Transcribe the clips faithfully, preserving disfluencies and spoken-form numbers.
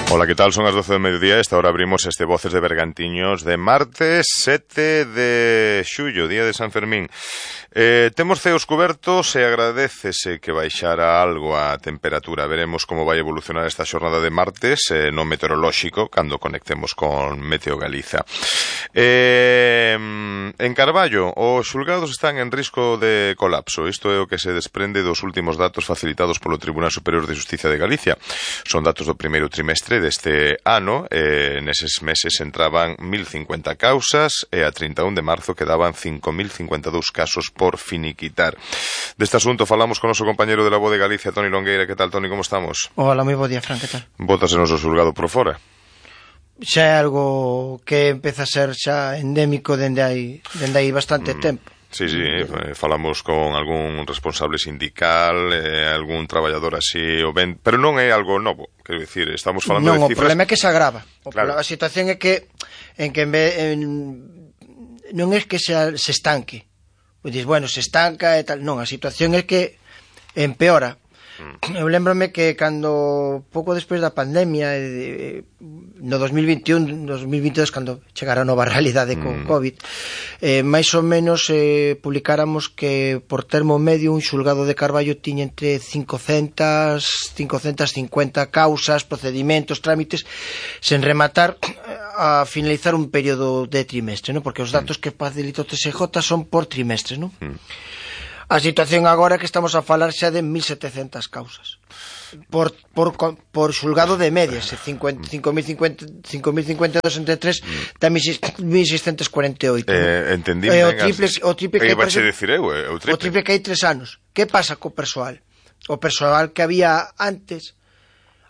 Ola, que tal? Son as doce do mediodía. Esta hora abrimos este Voces de Bergantiños de martes sete de xullo, día de San Fermín. Eh, temos ceos cubertos e agradécese que baixara algo a temperatura. Veremos como vai evolucionar esta xornada de martes eh, no meteorolóxico cando conectemos con Meteo Galiza. Eh, en Carballo, os xulgados están en risco de colapso. Isto é o que se desprende dos últimos datos facilitados polo Tribunal Superior de Xustiza de Galicia. Son datos do primeiro trimestre deste ano. Eh, neses meses entraban mil cincuenta causas e a trinta e un de marzo quedaban cinco mil cincuenta e dous casos por finiquitar. Deste asunto falamos con o noso compañeiro de La Voz de Galicia, Toni Longueira. Que tal, Toni, como estamos? Hola, moi bo día, Fran, que tal? Bótase noso xulgado por fora. Xa é algo que empeza a ser xa endémico dende hai, dende hai bastante mm. tempo. Sí, sí, eh, falamos con algún responsable sindical, eh, algún traballador así, o ben, pero non é algo novo, quero dicir, estamos falando non, de cifras... Non, o problema é que se agrava. O claro. problema, a situación é que en que en vez, en, non é que se, se estanque. Pois dis, bueno, se estanca e tal, non, a situación é que empeora. Mm. Eu lembrome que cando pouco despois da pandemia eh, no dos mil veintiún, dos mil veintidós, cando chegara a nova realidade con mm. COVID, eh, máis ou menos eh, publicáramos que por termo medio un xulgado de Carballo tiña entre cincocentas, cincocentas cincuenta causas, procedimentos, trámites sen rematar a finalizar un período de trimestre, ¿no? Porque os datos mm. que facilita o T S J son por trimestre, ¿no? Mm. A situación agora é que estamos a falar xa de mil setecentas causas por, por, por xulgado de medias, cinco mil cincuenta e dos entre tres da mil seiscentos cuarenta e oito. Eh, entendí ben. O triple, o triple que hai, por exemplo, eu, eh, o triple. O triple que hai tres anos. Que pasa co persoal? O persoal que había antes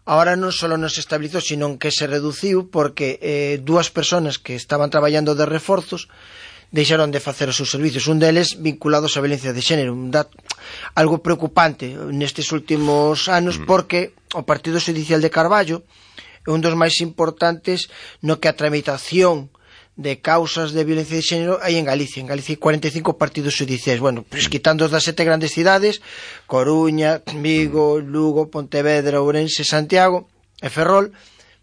ahora non só non se estabilizou, sino que se reduciu porque eh, dúas persoas que estaban traballando de reforzos deixaron de facer os seus servicios, un deles vinculados á violencia de xénero, un dato, algo preocupante nestes últimos anos, porque o Partido Judicial de Carballo é un dos máis importantes no que a tramitación de causas de violencia de xénero hai en Galicia. En Galicia hai cuarenta e cinco partidos judiciais, bueno, pues, quitando os das sete grandes cidades, Coruña, Vigo, Lugo, Pontevedra, Ourense, Santiago e Ferrol,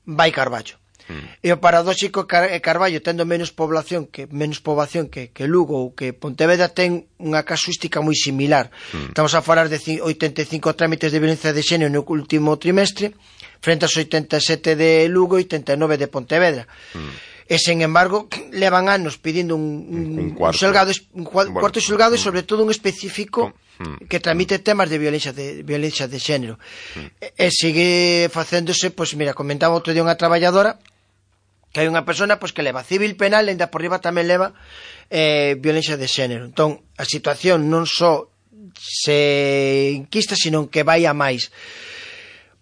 vai Carballo. Mm. E o paradóxico é Carballo, tendo menos población que menos poboación que, que Lugo ou que Pontevedra, ten unha casuística moi similar. Mm. Estamos a falar de oitenta e cinco trámites de violencia de xénero no último trimestre frente aos oitenta e sete de Lugo e oitenta e nove de Pontevedra. Mm. E, sen embargo, levan anos pedindo un, un, un, cuarto. un, xulgado, un cuarto bueno, xulgado e, sobre todo, un específico mm. que tramite temas de violencia de, violencia de xénero. Mm. E, e sigue facéndose, pois, pues, mira, comentaba outro día unha traballadora que hai unha persona pois, que leva civil penal e ainda por riba tamén leva eh, violencia de xénero. Entón, a situación non só se inquista, sino que vai a máis.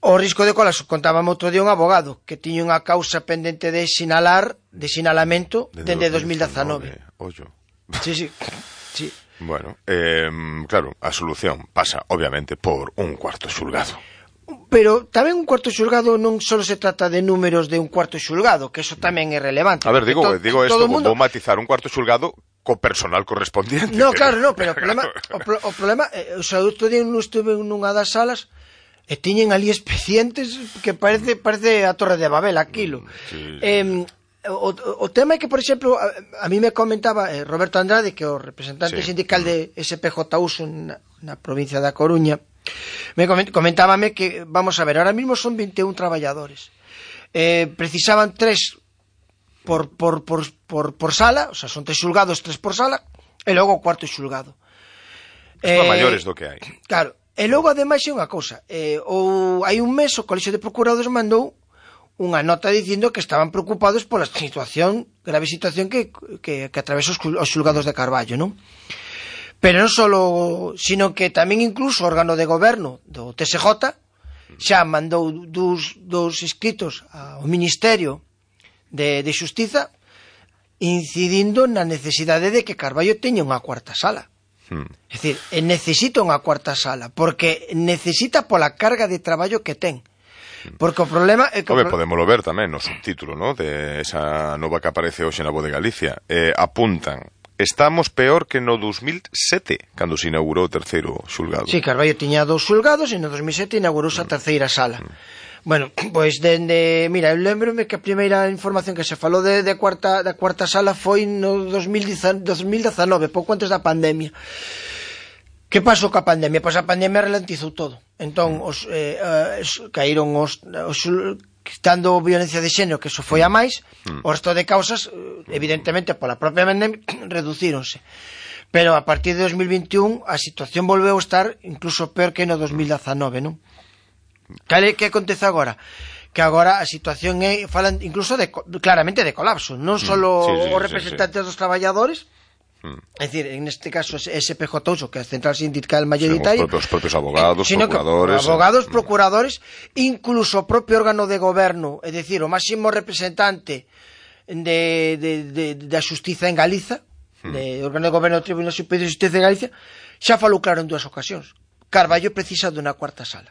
O risco de colapso, contábame outro día un abogado que tiña unha causa pendente de sinalar, de sinalamento, dende dos mil dezanove. Ollo. Sí, sí, sí. Bueno, eh, claro, a solución pasa, obviamente, por un cuarto xulgado. Pero tamén un cuarto xulgado non só se trata de números de un cuarto xulgado, que eso tamén é relevante. A ver, digo, to, digo esto, mundo... vou matizar un cuarto xulgado co personal correspondiente. No, claro, no, pero o problema, o, o problema, eh, o sea, outro día non estuve nunha das salas e tiñen ali expedientes que parece parece a Torre de Babel, aquilo. Sí, sí. Eh, o, o tema é que, por exemplo, a, a mí me comentaba eh, Roberto Andrade, que é o representante sí. sindical de S P J U S na, na provincia da Coruña, me comentábame que, vamos a ver, ahora mismo son vinte e un traballadores, eh, precisaban tres por, por, por, por, por sala, o sea, son tres xulgados, tres por sala, e logo o cuarto xulgado. Son eh, maiores do que hai. Claro, e logo ademais é unha cousa, eh, ou hai un mes o Colexio de Procuradores mandou unha nota dicindo que estaban preocupados pola situación, grave situación que, que, que atravesa os, os xulgados de Carballo, non? Pero non só, sino que tamén incluso o órgano de goberno do T S J xa mandou dos, dos escritos ao Ministerio de, de Xustiza incidindo na necesidade de que Carballo teña unha cuarta sala. Hmm. É dicir, necesita unha cuarta sala, porque necesita pola carga de traballo que ten. Porque o problema é que... Ove, pro... podémoslo ver tamén no subtítulo, ¿no?, de esa nova que aparece hoxe na Voz de Galicia. Eh, apuntan: estamos peor que no dos mil sete, cando se inaugurou o terceiro xulgado. Sí, Carballo tiña dous xulgados e no dos mil sete inaugurouse a terceira sala. Mm. Bueno, pois dende, mira, eu lembrome que a primeira información que se falou de, de cuarta, da cuarta sala foi no dos mil dezanove, pouco antes da pandemia. Que pasou ca pandemia? Pois a pandemia ralentizou todo. Entón, os, eh, eh, caíron os, os quitando violencia de xénero, que eso foi a máis, o resto de causas, evidentemente, pola propia pandemia, reducíronse. Pero a partir de dos mil veintiún a situación volveu a estar incluso peor que no dos mil dezanove, non? Cale que acontece agora? Que agora a situación é, falan incluso de, claramente de colapso, non só sí, sí, os representantes sí, sí. dos traballadores, mm. é dicir, en este caso S P J U, que é a Central Sindical Mayoritaria, os propios abogados, eh, procuradores, abogados, eh. procuradores, incluso o propio órgano de goberno, é dicir, o máximo representante de, de, de, da xustiza en Galiza, mm. de órgano de goberno do Tribunal Superior de Xustiza de Galicia, xa falou claro en dúas ocasións. Carballo precisa dunha cuarta sala.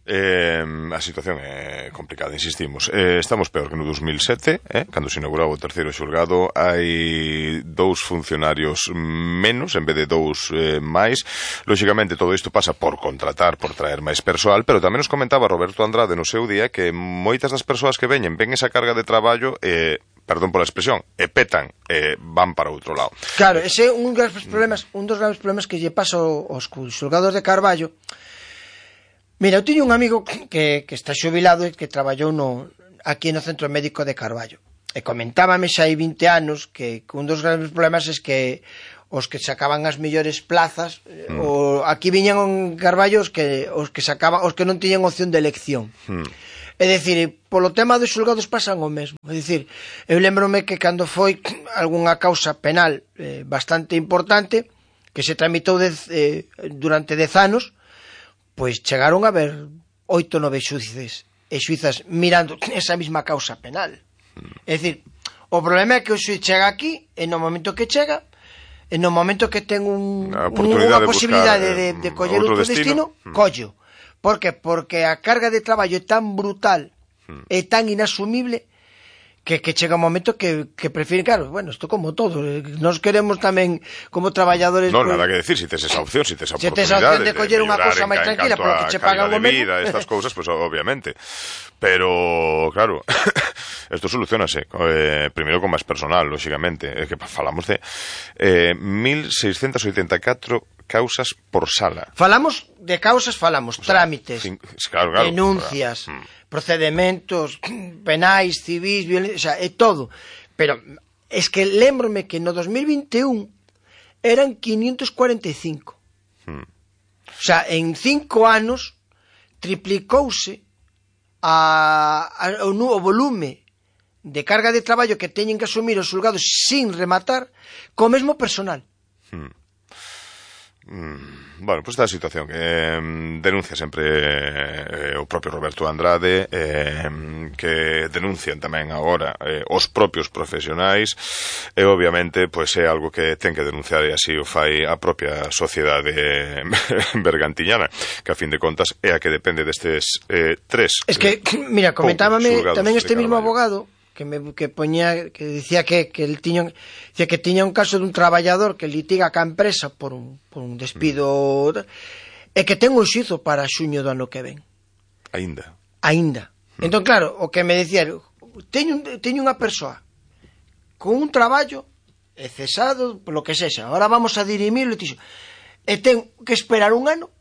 Eh, a situación é complicada, insistimos. Eh, estamos peor que no dos mil sete, eh, cando se inaugurou o terceiro xulgado. Hai dous funcionarios menos en vez de dous eh, máis. Lóxicamente todo isto pasa por contratar, por traer máis persoal, pero tamén nos comentaba Roberto Andrade no seu día que moitas das persoas que veñen ven esa carga de traballo e eh, perdón pola expresión, e petan, e van para outro lado. Claro, ese é un dos problemas, un dos graves problemas que lle pasa aos xulgados de Carballo. Mira, eu tiño un amigo que, que está xubilado e que traballou no, aquí no Centro Médico de Carballo. E comentábame xa hai vinte anos que, que un dos grandes problemas é que os que sacaban as mellores plazas, mm. o, aquí viñan en Carballo os que, os que sacaban, os que non tiñan opción de elección. Mm. É dicir, polo tema dos xulgados pasan o mesmo. É dicir, eu lembrome que cando foi algunha causa penal eh, bastante importante, que se tramitou de, eh, durante dez anos, pois chegaron a ver oito, nove xuíces e xuizas mirando esa mesma causa penal. É dicir, o problema é que o xuiz chega aquí e no momento que chega, e no momento que ten un, unha posibilidade de, de, de coller outro destino, destino collo. Por que? Porque a carga de traballo é tan brutal e tan inasumible que, que chega un momento que, que prefieren, claro, bueno, isto como todo, nos queremos tamén como traballadores... Non, pues, nada que decir, si tes esa opción, si tes esa si oportunidade... Si tes a opción de coller unha cousa máis tranquila, polo que che pagan o mesmo... Vida, estas cousas, pues obviamente. Pero, claro, esto solucionase, eh, primeiro con máis personal, lóxicamente, é que falamos de eh, mil seiscentos oitenta e catro causas por sala. Falamos de causas, falamos, o sea, trámites, cinco, claro, claro, denuncias... Claro. Hmm. Procedimentos penais, civis, violencia, o sea, é todo. Pero es que lembrome que no dos mil vinte e un eran quinientos cuarenta e cinco. Hmm. O sea, en cinco anos triplicouse a, a, o, o volume de carga de traballo que teñen que asumir os xulgados sin rematar co mesmo personal. Hmm. Mm, bueno, pues esta situación que eh, denuncia sempre eh, o propio Roberto Andrade, eh, que denuncian tamén agora eh, os propios profesionais, e obviamente pues, é algo que ten que denunciar, e así o fai a propia sociedade bergantiñana, que a fin de contas é a que depende destes eh, tres. Es que, eh, mira, comentábame tamén este mismo abogado que me que poñía, que dicía que que el tiña, decía que tiña un caso dun traballador que litiga ca empresa por un por un despido mm. e que ten un xuizo para xuño do ano que ven. Aínda. Aínda. Mm. Entón claro, o que me dicía, teño teño unha persoa con un traballo e cesado, polo que sexa. Ahora vamos a dirimir o litigio. E ten que esperar un ano.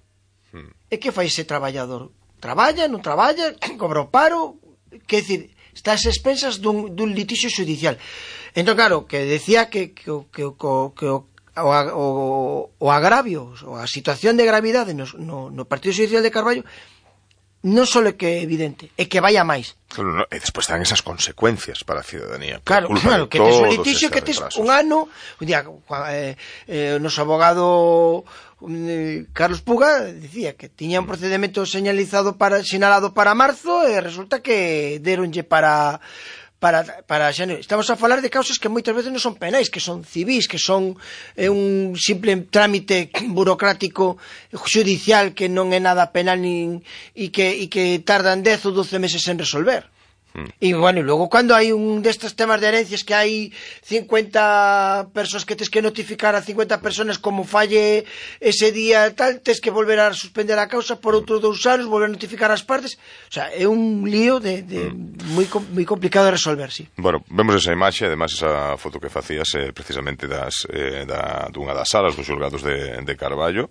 Mm. E que fai ese traballador? Traballa, non traballa, cobra o paro, que decir, está ás expensas dun, dun litixio judicial. Entón, claro, que decía que, que, que, que, que o, o, o agravio, ou a situación de gravidade no, no, no Partido Judicial de Carballo non só é que é evidente, é que vai a máis. No, no, e despois dan esas consecuencias para a ciudadanía. Claro, claro, que tes un litixio que tes un ano, un día, eh, eh, o noso abogado eh, Carlos Puga dicía que tiña un procedimento señalizado para sinalado para marzo e resulta que deronlle para para para xaneiro. Estamos a falar de causas que moitas veces non son penais, que son civis, que son eh, un simple trámite burocrático judicial que non é nada penal nin e que e que tardan dez ou doce meses en resolver. E, bueno, e logo cando hai un destes temas de herencias que hai cincuenta persoas que tes que notificar a cincuenta persoas como falle ese día tal, tes que volver a suspender a causa por outros dous anos, volver a notificar as partes. O sea, é un lío de, de mm. moi, moi complicado de resolver, sí. Bueno, vemos esa imaxe, además esa foto que facías eh, precisamente das, eh, da, dunha das salas dos xulgados de, de Carballo.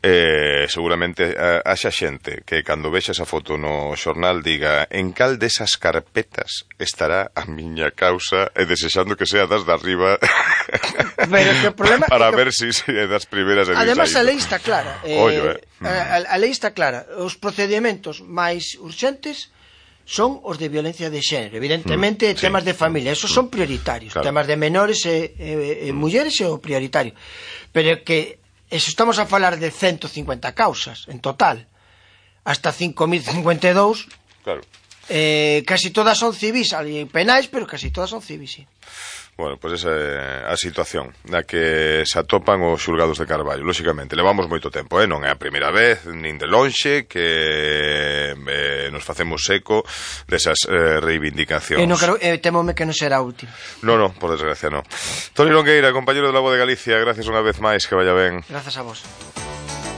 Eh, seguramente eh, haxa xente que cando vexa esa foto no xornal diga en cal desas carpetas estará a miña causa e desexando que sea das de arriba pero que o problema para que... ver si, si é das primeiras e además a lei está clara eh, Ollo, eh. a, a lei está clara, os procedimentos máis urxentes son os de violencia de xénero, evidentemente mm, temas sí. de familia, esos son prioritarios, claro. Temas de menores e, e, e mm. mulleres é o prioritario, pero que eso estamos a falar de ciento cincuenta causas en total, hasta cinco mil cincuenta e dous. Claro. Eh, casi todas son civis, hai penais, pero casi todas son civis, sí. Bueno, pois pues esa é a situación na que se atopan os xulgados de Carballo. Lóxicamente, levamos moito tempo, eh? Non é a primeira vez, nin de lonxe, que eh, nos facemos eco desas eh, reivindicacións. E non quero, eh, temome que non será a última. No, no, por desgracia, no. Toni Longueira, compañero de La Voz de Galicia, gracias unha vez máis, que vaya ben. Grazas a vos.